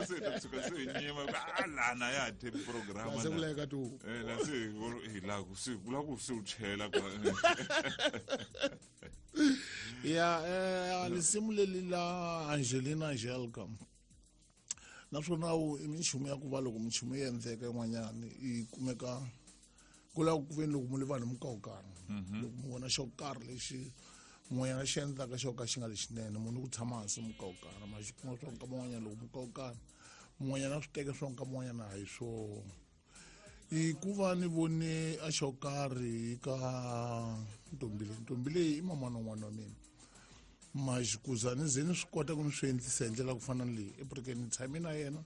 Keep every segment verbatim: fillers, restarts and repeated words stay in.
se ta tshuka se hi nyima a lana ya ha tape program se ku laveka tihuku eh la se hi la ku se ku la ku se u chela kwa ya eh lisimu leli la Angelina Angelka naswona i minchumu ya ku va loko minchumu yi endleka yin'wanyana yi kumeka ku lava ku veni loko mu li vanhu mukawukana loko mu vona xo karhi lexi mun'wanyana xi endlaka xo ka xi nga lexinene munhu ku tshama hansi mukawukana ma xi kuma swa nkama n'wanyana loko mukawukana mun'wanyana swi teka swa nkama n'wanyana a hi swona i ku va ni vone a xo karhi ka ntombi leyi ntombi leyi i mamana n'wana wa mina maxi kuza ni ze ni swi kota ku ni swi endlisa hi ndlela ku fana ni leyi eburekeni ni tshame na yena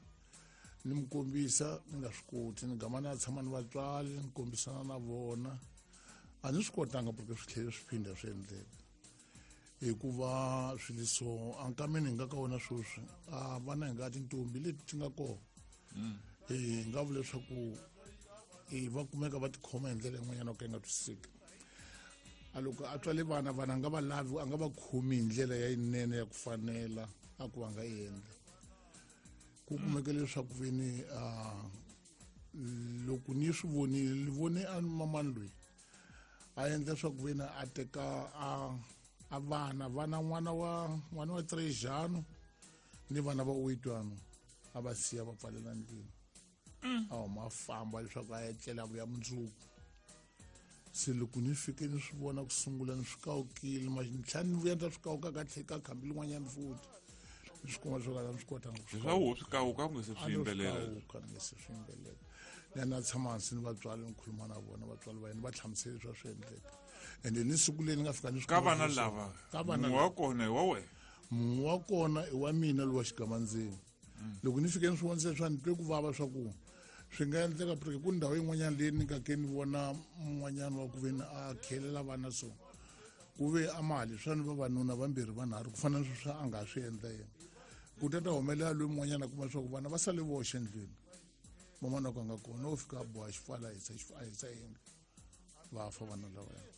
ni mi kombisa ni nga swi koti ni gama na tshama ni vatswari ni kombisana na vona a ni swi kotanga porque swi tlhele swi phinda swi endleka hikuva swilo so ankameni hi nga ka wona sweswi a vana hi nga tintombi leti ti nga kona hi nga vula leswaku i va kumeka va tikhoma hi ndlela yin'wanyana ku yi nga twisiseki a loko a tswale vana vana a nga va lavi a nga va khomi hi ndlela ya yinene ya ku fanela a ku va nga endla ku kumeka leswaku veni a loko ni swi vonile ni vone a mamani loyi a endla swa ku veni a teka a a vana vana n'wana wa n'wana wa Trejano ni vana va Oitwano a va siya va pfalela ndlwini a huma a famba leswaku a etlela vuya mundzuku se loko ni fike ni swi vona ku sungula ni swi kawukile ma ni tlhela ni vuya ni ta swi kawuka ka tlhe ka khambi lin'wanyana futhi ni swi kuma leswaku a ni swi kotanga ku swi swa wo swi kawuka ku nge se swi yimbelela kawuka ni nge se swi yimbelela ni ya na tshama hansi ni vatswari ni khuluma na vona vatswari va yena va hlamusele leswi a swi endleka ende ni siku leri ni nga fika ni swi ka kuma vana swi- lava ka vana mun'we wa kona hi wa wena mun'we wa kona i wa mina lowa xigamandzeni loko ni fike ni swi vonise swa ni twe ku vava swa ku swi nga endleka porque ku ndhawu yin'wanyana leyi ni nga ke ni vona mun'wanyana wa ku veni a khelela vana so ku ve a mali swa ni vavanuna vambirhi vanharhu ku fana na sweswi a nga swi endla yena ku ta ta humelela loyi mun'wanyana a kuma leswaku vana va sale voxe endlwini van'wana ku a nga kona wo fika a boha xifala a hisa a hisa yindlu va fa vana lavaya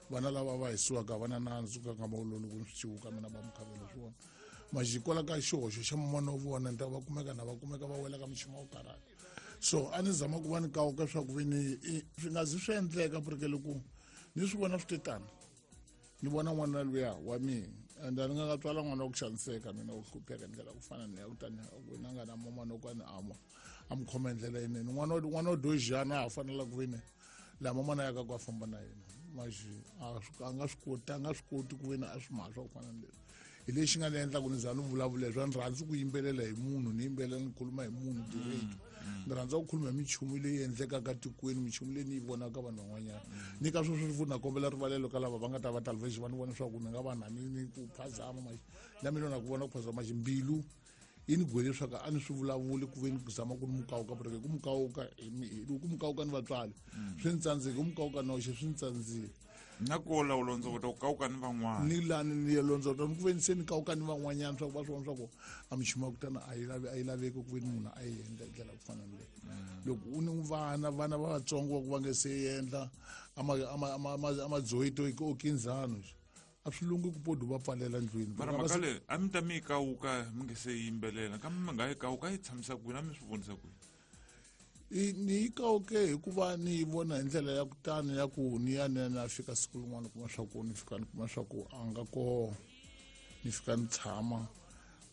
vana lava va hisiwaka a va na nandzu ka nkama wolowo loko ni swi ciwuka mina va mukhavela swona majikola ka xihoxo xa man'wana wa vona ni ta va kumeka na va kumeka va wela ka minchumu wa ku karhata so a ni zama ku va ni kawuka swa ku ve ni swi nga zi swi endleka porque loko ni swi vona swi te tano ni vona n'wana luya wa mina and a ni nga nga tswala n'wana wa ku xaniseka mina wo hlupheka hi ndlela ku fana ni ya kutani wena nga na mamana wo ka ni ama a mi khoma hi ndlela yinene n'wana n'wana wo dojana a ha fanela ku ve ni laha mamana ya ka ku a famba na yena maxi a nga swi koti a nga swi koti ku ve ni a swi mhaka swa ku fana ni leswi hi lexi nga ni endla ku ni za ni vulavula leswi a ni rhandzi ku yimbelela hi munhu ni yimbelela ni khuluma hi munhu direct ni rhandza ku khuluma hi minchumu leyi endlekaka tikweni minchumu leyi ni yi vonaka vanhu van'wanyana ni ka sweswo futhi na kombela rivalelo ka lava va nga ta va talvexi va ni vona leswaku ni nga va na ni ni ku phazama maxi na mina na ku vona ku phazama maxi mbilu yi ni gwele leswaku a ni swi vulavuli ku ve ni zama ku ni mukawuka porque ku mukawuka ku mukawuka ni vatswari swi ni tsandzeki ku mukawuka noxe swi ni tsandzile na ko la u londzovota ku kawuka ni van'wana ni lani ni ya londzovota ni ku ve ni se ni kawuka ni van'wanyana swa ku va swi vona swa ku a minchumu ya ku tana a yi lavi a yi laveki ku ve ni munhu a yi endla hi ndlela ku fana ni leyi loko u ni vana vana va vatsongo va ku va nge se endla a madzoyito okinzano a swi lungi ku podi va pfalela ndlwini mara mhaka leyi a mi ta mi yi kawuka mi nge se yimbelela kambe mi nga yi kawuka yi tshamisa kwini a mi swi vonisa kwini ni yi kawuke hikuva ni yi vona hi ndlela ya kutani ya ku ni ya ni ya ni ya fika siku rin'wana kuma swa ku ni fika ni kuma swa ku a nga koho ni fika ni tshama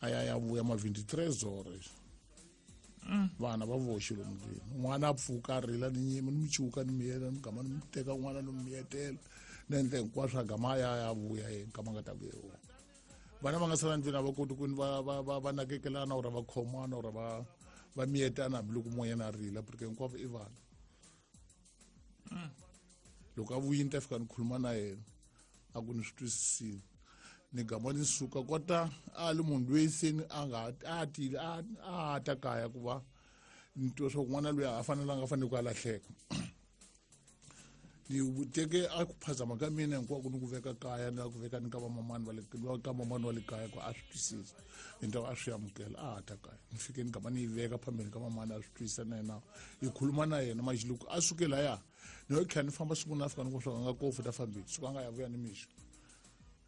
a ya ya vuya ma vingt-trois heures vana va voxe lomu ndlwini n'wana a pfuka a rila ni nyima ni mi cuka ni miyela ni gama ni mi teka n'wana ni mi miyetela ni endla hinkwaswo a gama a ya ya vuya yena kama nga ta vuya wona vana va nga sala ndlwini a va koti ku ni va va va va nakekelana or va khomana or va va miyetana hambiloko mun'wanyana a rila porque hinkwavo i vana loko a vuyini ta fika ni khuluma na yena a ku ni swi twisisile ni gama ni suka kota a li munhu loyi se ni a nga a tile a a ta kaya ku va ni twa swa ku n'wana loyi a fanelanga a fanele ku a lahleka ni teke a ku phazama ka mina hinkwako ni ku veka kaya ni ku veka ni ka vamamani va le ka mamani wa le kaya ku a swi twisisa hi ntaku a swi amukela a ha ta kaya ni fike ni gama ni yi veka phambeni ka mamani a swi twisisa na yena hi khuluma na yena maxi loko a suke laya ni yo tlhela ni famba siku na fika ni ku swa nga kofu ta fambile suka a nga ya vuya ni mixo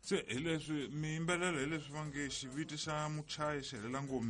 se hi leswi mi yimbelela hi leswi va nge xiviti xa muchayi xi helela ngomeni.